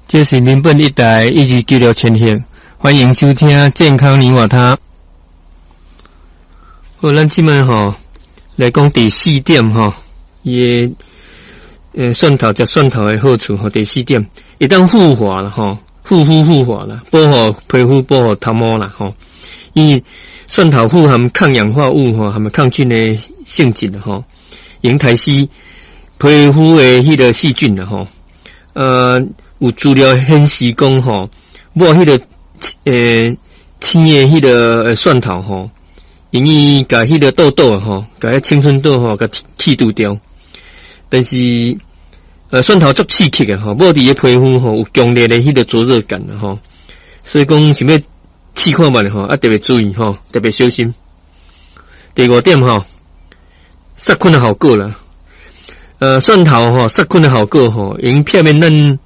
這是民本一台1296千赫，歡迎收聽健康你我他。好，咱這擺吼來講第四點吼，伊的蒜頭食蒜頭的好處吼，第四點，會當護髮啦吼，護膚護髮啦，保護皮膚，保護頭毛啦吼。因為蒜頭富含抗氧化物吼，含抗菌的性質吼，會殺死皮膚的彼個細菌啦吼。有資料顯示講吼，抹彼個青的彼個蒜頭吼，用伊共彼個痘痘吼，共彼青春痘吼，共去除掉。但是蒜頭足刺激的吼，抹佇个皮膚吼有強烈的彼個灼熱感吼，所以講想欲試看覓吼，啊特別注意吼，特別小心。第五點吼，殺菌的效果啦，蒜頭吼殺菌的效果吼，會避免咱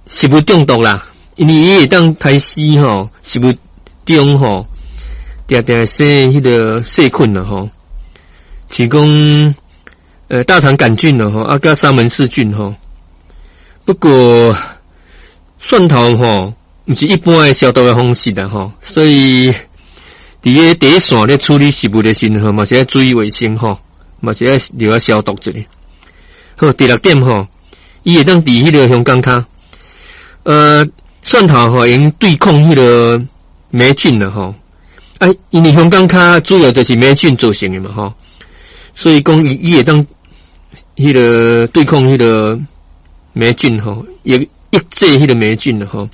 食物中毒啦，因為伊會當殺死吼食物中吼，定定生彼個細菌啦吼，像講大腸桿菌啦吼，啊佮沙門氏菌吼。不過蒜頭吼，毋是一般的消毒的方式啦吼，所以佇個第一線咧處理食物的時陣吼，嘛是愛注意衛生吼，嘛是愛著愛消毒一下。好，第六點吼，伊會當治彼個香港跤。蒜頭吼會用對抗彼個黴菌啦吼，啊，因為香港跤主要就是黴菌造成的嘛吼，所以講伊會當彼個對抗彼個黴菌吼，抑抑制彼個黴菌吼。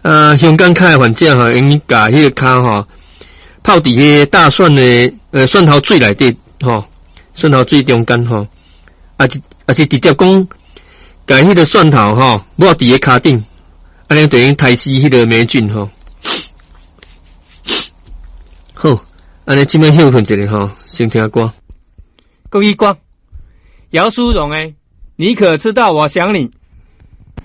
啊，香港跤的患者吼，用共彼個跤吼泡佇彼個大蒜的蒜頭水內底吼，蒜頭水中間吼，啊是直接講共彼個蒜頭吼抹佇个跤頂，按呢就會用殺死彼個黴菌吼。好，按呢這擺歇睏一下吼，先聽歌。國語歌，姚蘇蓉的，你可知道我想你？